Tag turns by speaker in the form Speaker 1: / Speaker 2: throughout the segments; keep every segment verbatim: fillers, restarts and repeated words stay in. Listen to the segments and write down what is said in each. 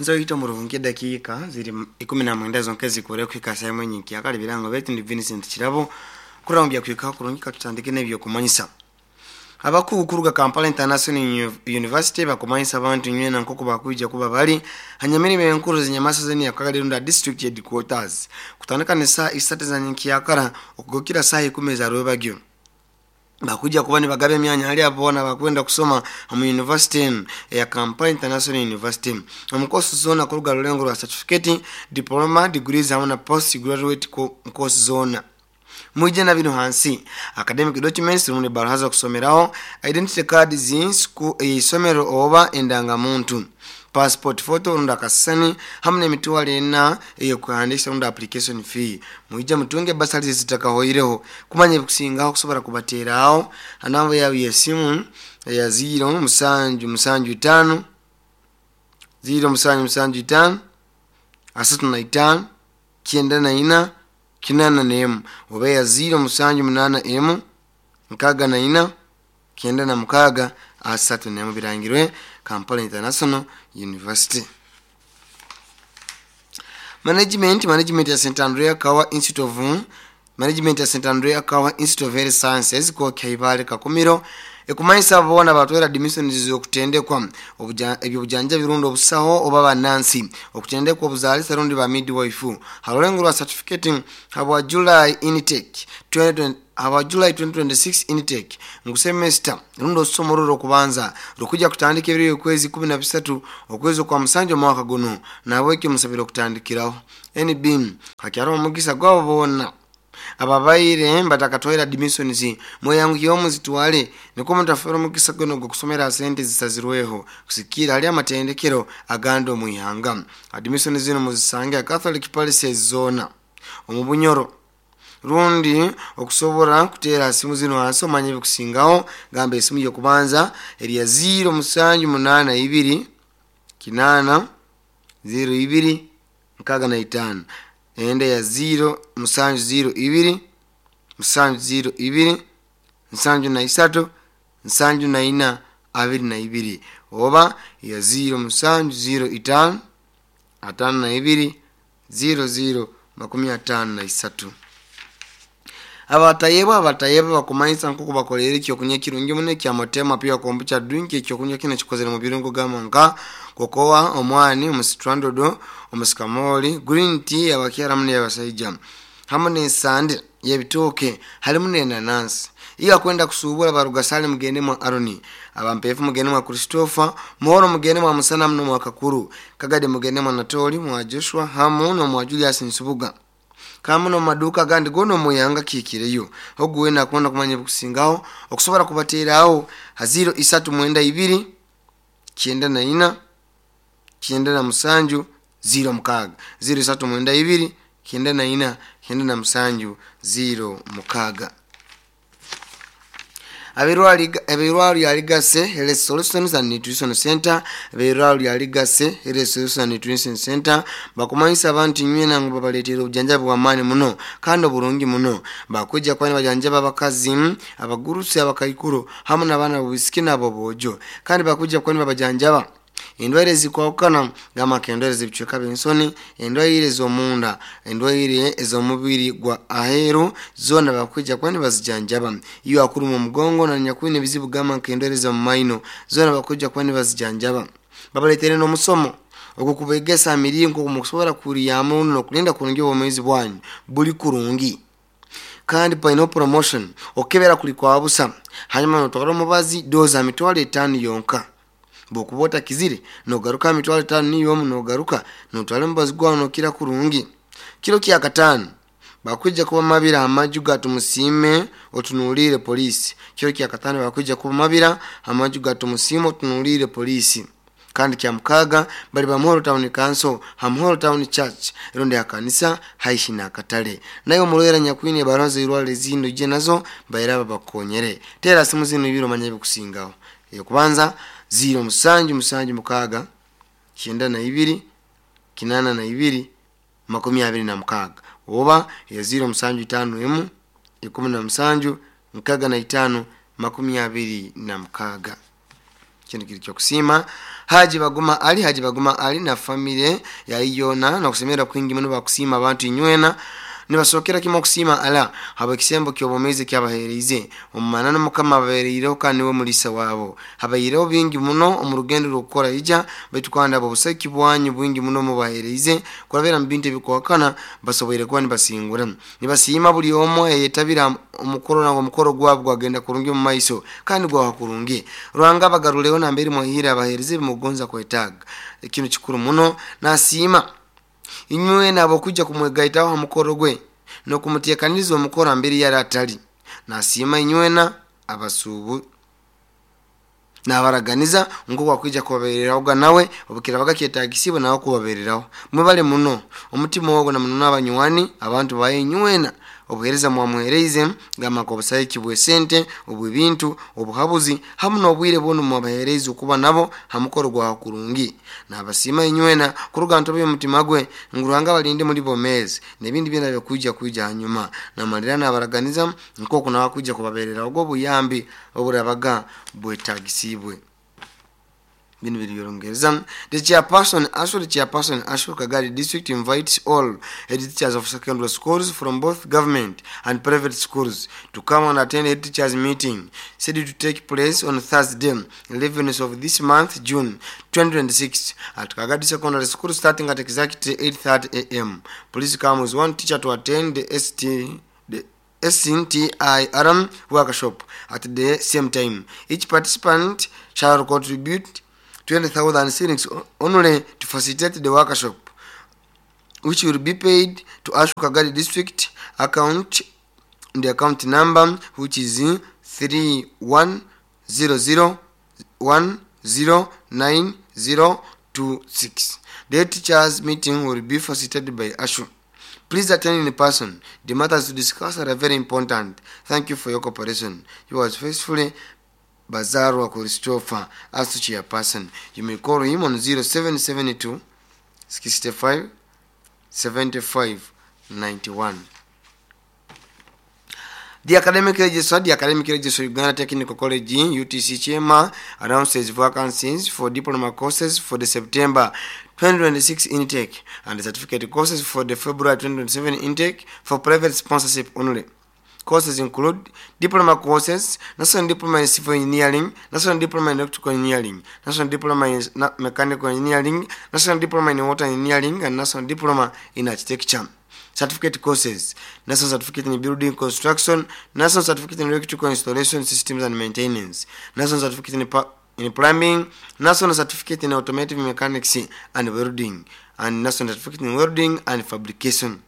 Speaker 1: Nzoyita murungi dakiika ziri ikumi na mwenda zonke zikore kuhika saa imwe nyinkya birango betu ndi Vincent Kirabo kurambya kuhika kurungi katutandike n'ebyokumanyisa. Abakugu kuruga Kampala International University bakumanyisa abantu nywena nkoko bakwija kuba bali hanyamirimo enkuru zinyamasa zeni yakagalirunda district headquarters kutandika ne saa isatu za nyinkiyakara okugokira saa ikumi za rwebagyo. Bakuja kuba nibagaba emyanya hali abona bakwenda kusoma mu university ya Kampala International University omu course zona kuruga rulengo rwa certificate, diploma, degrees hamwe na post graduate course zona. Mwije na bino hansi academic documents rumwe barahaza kusomeraho, identity card z'isku isomero oba endangamuntu, passport photo runda kasani hamwe n'emitwalo ena eyo kuhandisha runda application fee. Mwije mutunge basali zitakahoireho kumanya ebikusingaho kusobora kubateraho anamba yawe yesimu ya zero musanju musanju itano zero musanju musanju itano asatu na itano kyenda na ina kinana na emu oba ya zero musanju munana emu nkaga na ina kyenda na mukaga asatu na emu. Birangirwe Kampala International University Management. Management ya Saint Andrea Kawa Institute of Management ya Saint Andrea Kawa Institute of Health Sciences ko Kaibale Kakumiro ekumanyisa bona batwera admissions z'okutendekwa ebyobujanja birundo obusaho oba banansi okutendekwa obuzaalisa rundi ba midwife halulengo lwa certificate habwa July intake twenty habwa July twenty twenty-six intake ngu semester rundi olusoma ruro okubanza rukuja kutandika ebiro okwezi kumi na bisatu okwezi kwa musanju omwaka guno, nabwekyo musabire okutandikiraho N B hakyariho omugisa gwabo boona ababaire batakatwaire admissions. Mweyanguhireho muzitwale nikwo mutafera omugisa guno gw'okusomera sente zisazirweho kusikira hali amatendekero agandi omu ihanga. Admission zino muzisange Catholic Palaces zona omu Bunyoro, rundi okusobora kuteera simu zino hansi omanye ebikusingaho. Gamba esimu y'okubanza eri ya zero musanju munana ibiri kinana zero ibiri nkaga na itano, ende ya zero musanju zero ibiri musanju zero ibiri nsanju na isatu nsanju na ina abiri na ibiri, oba ya zero musanju zero itano atano na ibiri zero zero makumi atano na isatu. Abatayebwa abatayebwa bakumanyisa nkoku bakolere ekyokunywa ekirungi muno ekya Motema Pure Kombucha drink. Ekyokunywa kino kikozere mu birungo gamba nka kokoa, omwani, omusitrandodo, omusikamoli, green tea abakyara muno abasaija, hamwe n'ensande y'ebitooke, harimu n'enanansi. Iyo akwenda kusubura baruga sale mugende mwa Aroni, abampefu mugende mwa Christopher Muhoro, mugende mwa Musana muno mwa Kakuru Kagade, mugende mwa Natoli, mwa Joshua hamu no mwa Julius Nsubuga kamu no maduka gandi gono muyanga kikireyo. Oguwe nakubona kumanya bukusingaho okusobora kubateraho ha zero isatu mwenda ibiri kyenda na ina kyenda na musanju zero mukaga, zero isatu mwenda ibiri kyenda na ina kyenda na musanju zero mukaga. Ab'eirwaro lya Legacy Health Solutions and Nutrition Center, ab'eirwaro lya Legacy Health Solutions and Nutrition Center bakumanyisa abantu nywena ngu babaleetera obujanjabi bw'amaani muno kandi oburungi muno. Bakujja kuba nibajanjaba abakazi, abagurusi, abakaikuru hamu n'abaana b'obwisiki nabo boojo, kandi bakujja kuba nibabajanjaba endwaire ezikwahukana gamba nka endwaire z'ebicweka by'ensoni, endwaire ez'omunda, endwaire ez'omubiri gwa aheeru, zoona bakwija kuba nibazijanjaba. Iyo akuruma omugongo nanyakwine ebizibu gamba nka endwaire ez'omu maino, zoona bakwija kuba nibazijanjaba. Babaleetere n'omusomo ogukubegesa emiringo mukusobora kuryamu n'okulinda kurungi obwomeezi bwanyu buli kurungi. Kandi paine promotion, okukebera kuli kwa busa, hanyuma notwara omubazi doza mitwalo etaano yonka. Bwokuba otakizire nogaruka mitwalo etaano niyomu, nogaruka notwara omubazi gwawe nokira kurungi. Kiro kya kataano bakwija kuba mabira amaju ga Tumusiime otunuulire poliisi. Kiro kya kataano bakwija kuba mabira amaju ga Tumusiime otunuulire poliisi. Kandi kya mukaaga bali ba Muhoro Town Council ha Muhoro Town Church erundi akanisa haihi n'akatale. Naye omurwaire nyakwine ebaruha z'eirwariro ezindi ojje nazo bairaba bakukonyere. Teera simu zino ibiri omanye ebikusingaho. Eyokubanza zero musanju musanju mukaaga kyenda na ibiri kinana na ibiri makumi abiri na mukaaga, oba ya zero musanju itano emu ikumi na musanju nkaga na itano makumi abiri na mukaaga. Kino kiri kyokusiima. Haji Baguma Ali Haji Baguma Ali na famire yaiyona nakusemera kwingi muno bakusiima abantu inywena nibasookera kimu okusiima ala habw'ekisembo ky'obwomeezi kyabaheereize omumanano mukama ababeereireho kandi niwe mulisa waabo habaireho bingi muno omu rugendo rw'okukora ija baitu kandi abo obusaki bwanyu bwingi muno mubaheereize kurabira mu bintu ebikuhakana basoboire kuba nibasingura nibasiima buli omu eyetabira omukoro nangwa omukoro gwabo gwagenda kurungi omu maiso kandi gwaha kurungi Ruhanga abagaruleho nambere mwahire abaheereze ebimugonza kwetaaga ekintu kikuru muno nasiima inywe nabo kujja kumwegaitaho ha mukoro gwe n'okumuteekaniriza omukoro ambere yari atali nasiima inywena abasuubu nabaraganiza nko wakwija kubabererahoga nawe obukirabaga kyetagisibwe nawe kubabereraho mwebale muno omutima ogwo na muno n'abanywani abantu baye inywena obuheereza mwamuhereize gamba nk'obusaiki bw'esente obw'ebintu obuhabuzi hamu n'obwire bwonu mwabahereize okuba nabo ha mukoro gwawe kurungi nabasiima inywena kuruga ntobo y'omutima gwe ngu Ruhanga abalinde muri bomezi n'ebindi byona byakwija kwija hanyuma namalira nabaraganiza nk'oku nawe akwija kubabereraho obuyambi oburabaga bwetagisibwe bino biri by'Olungereza the chairperson ASHU the chairperson ASHU Kagadi district invites all head teachers of secondary schools from both government and private schools to come and attend head teachers meeting scheduled to take place on Thursday eleventh of this month June twenty twenty-six at Kagadi Secondary School starting at exactly eight thirty a m Please come with one teacher to attend the S T the S N T I R workshop at the same time. Each participant shall contribute twenty thousand shillings only to facilitate the workshop, which will be paid to ASHU Kagadi district account, the account number which is three one zero zero one zero nine zero two six. The teachers meeting will be facilitated by ASHU. Please attend in person. The matters to discuss are very important. Thank you for your cooperation. Yours faithfully, Bazarwa Christopher, as chairperson. You may call him on zero seven seven two sixty-five seventy-five ninety-one. The Academic Registrar, the Academic Registrar Uganda Technical College, U T C Kyema, announces vacancies for diploma courses for the September twenty twenty-six intake and the certificate courses for the February twenty twenty-seven intake for private sponsorship only. Courses include diploma courses, National Diploma in Civil Engineering, National Diploma in Electrical Engineering, National Diploma in Mechanical Engineering, National Diploma in Water Engineering, and National Diploma in Architecture. Certificate courses, National Certificate in Building Construction, National Certificate in Electrical Installation Systems and Maintenance, National Certificate in, in Plumbing, National Certificate in Automotive Mechanics and Welding, and National Certificate in Welding and Fabrication.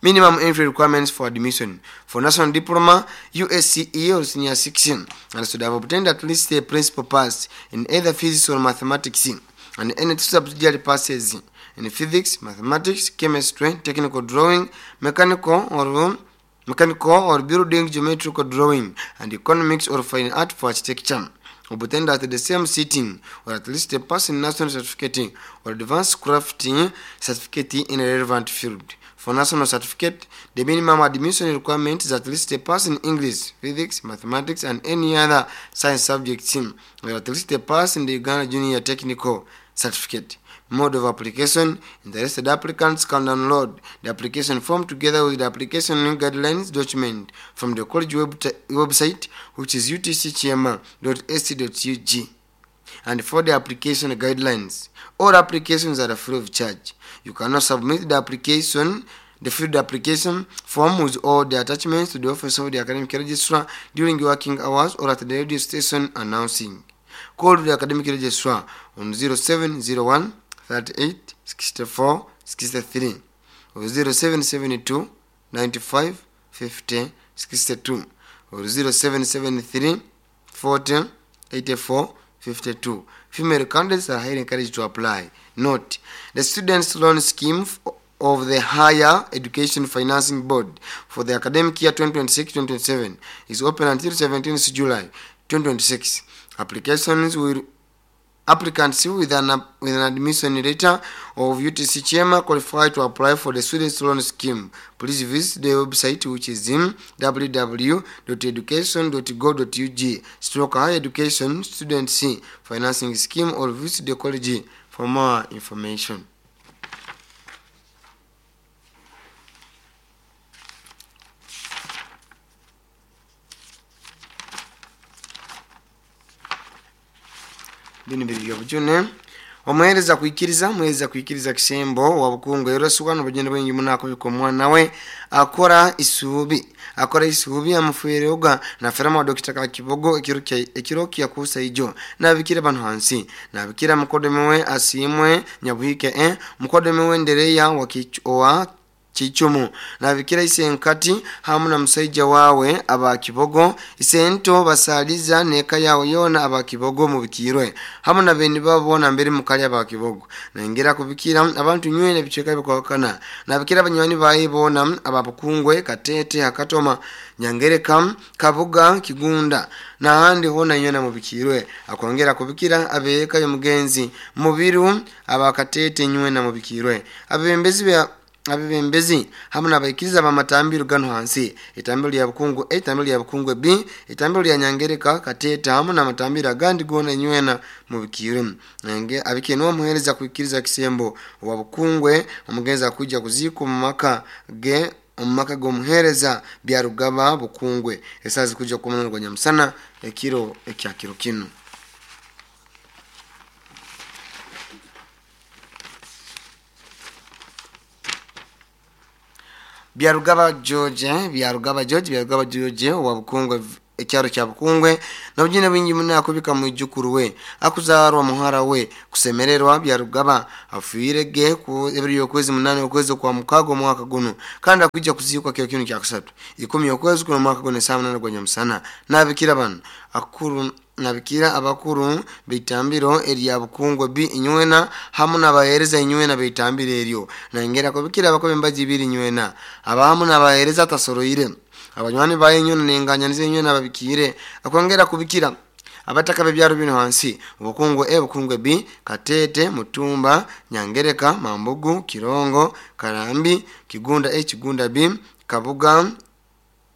Speaker 1: Minimum entry requirements for admission. For National Diploma, U S C E or Senior six, and should have obtained at least a principal pass in either physics or mathematics, and any two subsidiary passes in physics, mathematics, chemistry, technical drawing, mechanical or mechanical or building geometrical drawing, and economics or fine art for architecture. Obtained at the same sitting, or at least a pass in national certificate or advanced crafting certificate in a relevant field. For national certificate, the minimum admission requirement is at least a pass in English, physics, mathematics, and any other science subject, or at least a pass in the Uganda Junior Technical Certificate. Mode of application: interested applicants can download the application form together with the application guidelines document from the college web website, which is U T C kyema dot A C dot U G. And for the application guidelines, all applications are free of charge. You cannot submit the application, the filled application form with all the attachments to the office of the academic registrar during working hours or at the radio station announcing. Call the academic registrar on zero seven zero one thirty-eight sixty-four sixty-three or zero seven seven two ninety-five fifty sixty-two or zero seven seven three forty eighty-four fifty-two. Female candidates are highly encouraged to apply. Note, the Students' Loan Scheme of the Higher Education Financing Board for the academic year twenty twenty-six twenty twenty-seven is open until seventeenth July twenty twenty-six. Applications will Applicants with an, with an admission letter of U T C Kyema qualify to apply for the student loan scheme. Please visit the website, which is in w w w dot education dot gov dot u g stroke higher education student C financing scheme, or visit the college for more information. Bino biri obujune omuhereza kuikiriza muhereza kuikiriza kisembo wa Bukungu eroswa n'obugendo bwingi munako biko mwana we akora isubi akora isubi amufuereoga na ferama Dokita Kakibogo ekiroki ekiroki yakusa ijo nabikira bantu hansi nabikira mukodomewe asimwe nyabuhike eh mukodomewe ndereya wa kichwa Chichumu nabikira isenkati hamu na musaija wawe abakibogo isento basaliza neka yawe yona abakibogo mubikirwe hamu na beni babona mbere mukali abakibogo naingira kubikira abantu nywene bicheka bikwakana nabikira banywani bayi bona ababukungwe Katete Hakatoma Nyangereka Kabuga Kigunda na handi hona nywena mubikirwe akongera kubikira abeka yo mugenzi mubiru abakatete nywena mubikirwe abembezi be abebembezi hamwe n'abaikiriza bamatambiro gano hansi itambiro lya Bukungu A, itambiro lya Bukungu B, itambiro lya Nyangereka Kateta hamwe n'amatambiro agandi gona nywena mubikire nenge abikeno omuhereza kuikiriza kisembo wa Bukungwe omugenza kuja kuziko mu maka ge omumaka gomuhereza Byarugaba Bukungwe esazi kuja kumunana gwa nyamusana ekiro ekyakiro kino. Byarugaba George, Byarugaba George, Byarugaba George wa Bukungwe ekyaro kya Bukungwe na bujine bwingi munakubika mwijukuru we akuzarwa muhara we kusemererwa Byarugaba afuirege ku ebiri yokwezi munane okwezi kwa mukago mwaka guno kandi akujja kuzikwa kyo kinu kya kusatu ikumi okwezi kuno mwaka guno saa munane gwa nyamusana nabikira bano akuru nabikira abakuru bitambiro erya Bukungwe B inywena hamu nabahereza inywena bitambiro eryo nangera kubikira abakobe mbaji biri inywena abahamu nabahereza tasoroire abanywani bayenyo nenganya nize nababikire akongera kubikira abataka bebyaro bino hansi Bukungwe A, Bukungwe B, Katete, Mutumba, Nyangereka, Mambugu, Kirongo, Karambi, Kigunda A, Kigunda B, Kabuga,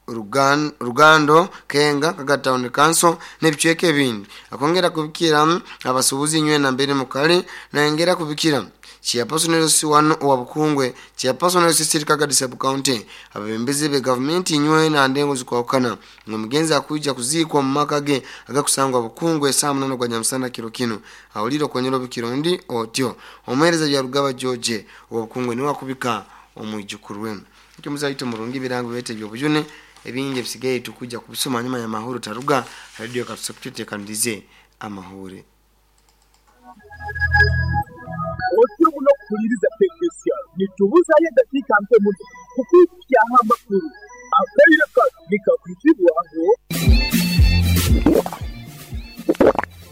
Speaker 1: Rugan, Rugando, Kenga, Kaga Town Council nebichweke bindi akongera kubikira abasubuzi nywe na mbere mukali naengera kubikira Chairperson wano wa Bukungwe, Chairperson City Kaga Sub County abembezi be government nywe na ndengo zikwakana ngomugenzi akuja kuzikwa mu maka ge agakusangwa Bukungwe saa munane gwa nyamusana kiro kino awuliro konyero bikirondi otyo omuhereza Byarugaba George wa Bukungwe ni wakubika omwijukuru we kimuzaito murungi birango bete byobujune ebingi bisigaye tukuja kubisoma nyuma ya mahoro taruga radio katusakutete kandize amahure
Speaker 2: Otyo muno kuliriza technician nitubuzaye dakika mpe muno kukukia amakuru akaire nikakwitibwaho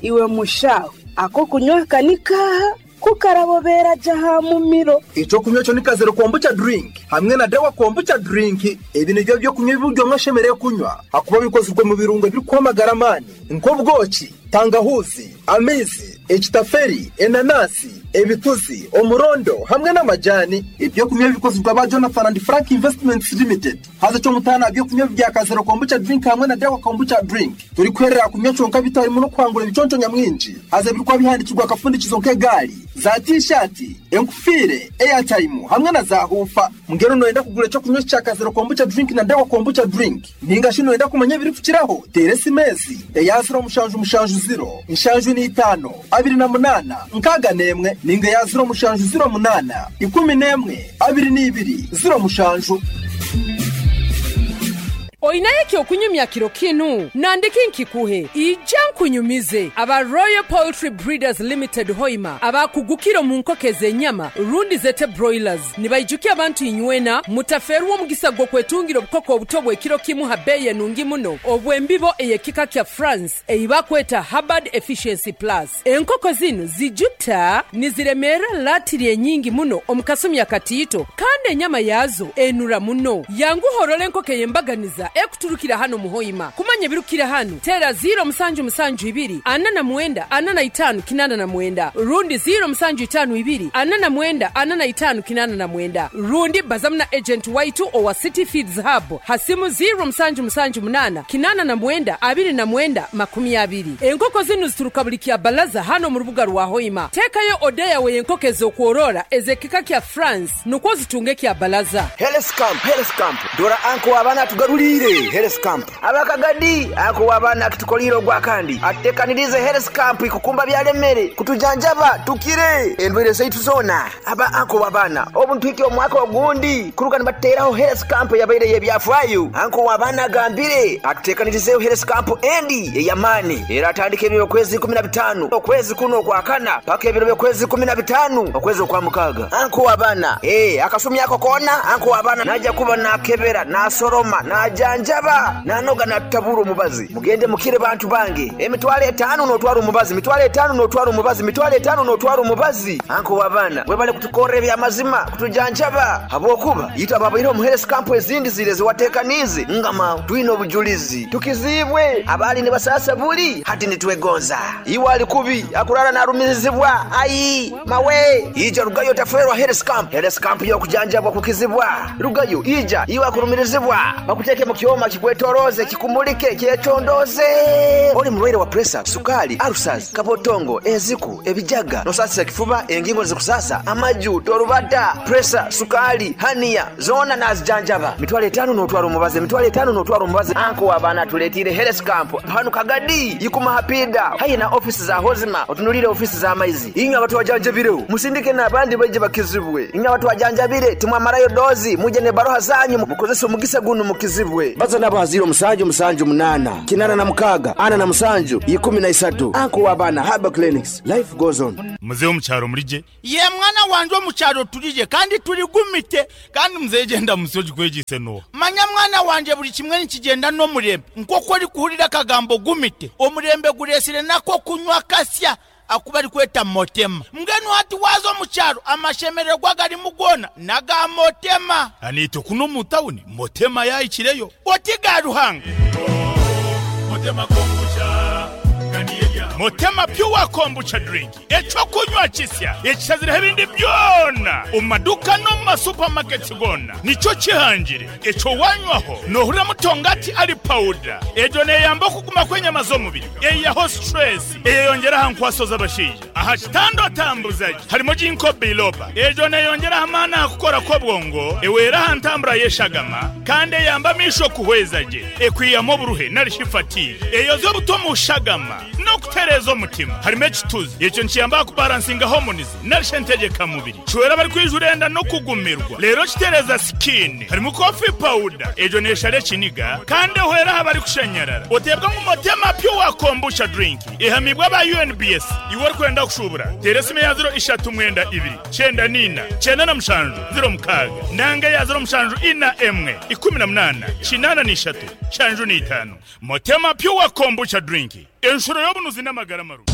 Speaker 3: iwe mushawe ako kunywa kanika kukarabobera jaha mumiro
Speaker 4: ico kunywa cyo nikazero kombucha drink hamwe na dawa kombucha drink ebi nibyo byo kunywa ibiryo mwashemereye kunywa hakuba bikozwe mu birungo biri kwamagara amani nk'ubwoki tangahuzi amizi ekitaferi enanasi ebituzi omurondo hamwe n'amajani ibyo kunywa bikozwe ba Jonathan and Frank Investments Limited haza cyo mutana byo kunywa bya kazero kombucha drink hamwe na dawa kombucha drink turi kwerera kunywa conka bitarimo no kwangura ibiconco nyamwinji haza birikwa bihandikirwa akafundikizo nk'egari za t-shirt enkufire airtime hamwe na za hufa mngero noenda kugura cyo kunywa cya kazero kombucha drink na dawa kombucha drink ninga shino enda kumanya biri kukiraho teresi mezi eya zero mushanju mushanju zero inshanju ni itano abiri na munana nkaga nemwe ninga ya zero mushanju zero munana ikumi nemwe abiri n'ibiri zero mushanju
Speaker 5: Oinaye okunyumya kiro kinu nandiki nkikuhe ija nkunyumize aba Royal Poultry Breeders Limited Hoima abakugukiro mu nkokeze enyama rundi zete broilers nibaijukia abantu inywena mutaferuwo mugisa gwo kwetungira obukoko obuto bw'ekiro kimu ha beye nungi muno obwembibo eyekika kya France eibakweta Hubbard Efficiency Plus enkoko zino zijuta niziremera latiri enyingi muno omukasumi akatiito kandi enyama yazo enura muno yangu horole enkoko eyembaganiza ekuturukira hano muhoima. Kumanya birukira hano tera ziro musanju musanju ibiri ana na mwenda ana na itanu kinana na mwenda rundi ziro musanju itanu ibiri ana na mwenda ana na itanu kinana na mwenda rundi bazamna agent waitu owa City Feeds Hub hasimu ziro musanju musanju munana kinana na mwenda abiri na mwenda makumi abiri. Enkoko zinu zituruka buli kya balaza hano mu rubuga rwa Hoima. Tekayo odeya we enkoko ez'okworora ezekika kya France nukwo zitunge kya balaza.
Speaker 6: Health Camp, Health Camp. Dora anko abana tugarulire Health Camp. Abakagadi ako abana kitukoliro gwa kandi. Atekanirize Health Camp ikukumba byalemere kutujanjaba tukire endwere zaitu zona. Aba anko abana obuntu iki omwaka ogundi kuruka nibateraho Health Camp yabaire yebyafwayo. Anko abana gambire atekanirize Health Camp endi eyamani. Era atandike ebiro kwezi kumi na bitano okwezi kuno kwa kana paka ebiro kwezi kumi na bitano okwezi kwa mukaga. Anko abana eh akasumi yako kona anko abana naja kuba nakebera nasoroma najanjaba nanoga natabura omubazi. Mugende mukire bantu bange emitwale etano notwara omubazi mitwale etano notwara omubazi mitwale etano notwara omubazi. Anko abana webale kutukora ebyamazima kutujanjaba habwokuba yita babaire mu Health Camp ezindi zire ziwatekanize ngama twine obujulizi tukizibwe abali ne basasa buli hati nitwegonza iwe ali kubi akurara narumizibwa ayi mawe ija rugayo taferwa Health Camp. Health Camp yo kujanjabwa kukizibwa rugayo ija iwe akurumirizibwa bakuteke mu kyoma kikwetoroze kikumulike kyetondoze. Oli mulwaire wa pressure sukali ulcers kabotongo eziku ebijaga nosasa kifuba engingo zikusasa amaju torubata pressure sukali hania zona nazijanjaba mitwale etano notwara omubazi mitwale etano notwara omubazi. Anko abana tuletire Health Camp hanu Kagadi yikuma hapida hayi na office za Hozima otunulire office za maizi inga watu wajanjabire musindike nabandi baje bakizibwe inga watu wajanjabire timwamarayo dozi muje ne baroha zanyu mukozesa omugisa guno mukizibwe baza nabo haziro musanju musanju munana kinana na mukaga ana na musanju ikumi na isatu. Anko abana Haba Clinics life goes on.
Speaker 7: Mzee omukyaro mulije
Speaker 8: ye mwana wanje omukyaro tulije kandi tuligumite
Speaker 7: kandi mzee genda musoji kwejise no
Speaker 8: manya mwana wanje buli kimwe nikigenda n'omurembe nk'oku ori kuhurira akagambo gumite omurembe guresire nako kunywa kasya akubali kweta motema mbwenu hati wazo omukyaro amashemererwa gari mugona naga motema
Speaker 7: anito kuno mu town motema yayikireyo
Speaker 8: otiga Ruhanga
Speaker 7: motema kombucha Motema pure kombucha drink echo kunywa kisya ekisazira ebindi byona omaduka no ma supermarkets gona nico kihangire echo wanywaho nohura mutongati ali powder ejo neyamba kuguma kwenyama z'omubiri eyaho stress eyongera hankwaso z'abashija aha kitando tambuzaji harimo jinko biloba ejo neyongera hamana kukora ko bwongo ewera hantambura yeshagama kandi yamba misho kuhwezaje ekwiyamo buruhe narishifati eyo zo butomu shagama no kutereza omutima harimo ekituzi ekyo nkiyamba kubalansinga hormones narishentegeka mubiri chwera bari kwijurenda no kugumirwa lero kitereza skin harimo coffee powder ejo neshare kiniga kandi hwera habari kushenyerara otebwa mu motema pure kombucha drink ihamibwa ba U N B S iwe kwenda kushubura teresime ya zero ishatu mwenda ibiri cyenda nina cyenda na mushanju zero mukaga nanga ya zero mushanju ina emwe ikumi na munana kinana nishatu shanju ni itanu. Motema pure kombucha drink enshuro y'obunuzi n'amagara maru.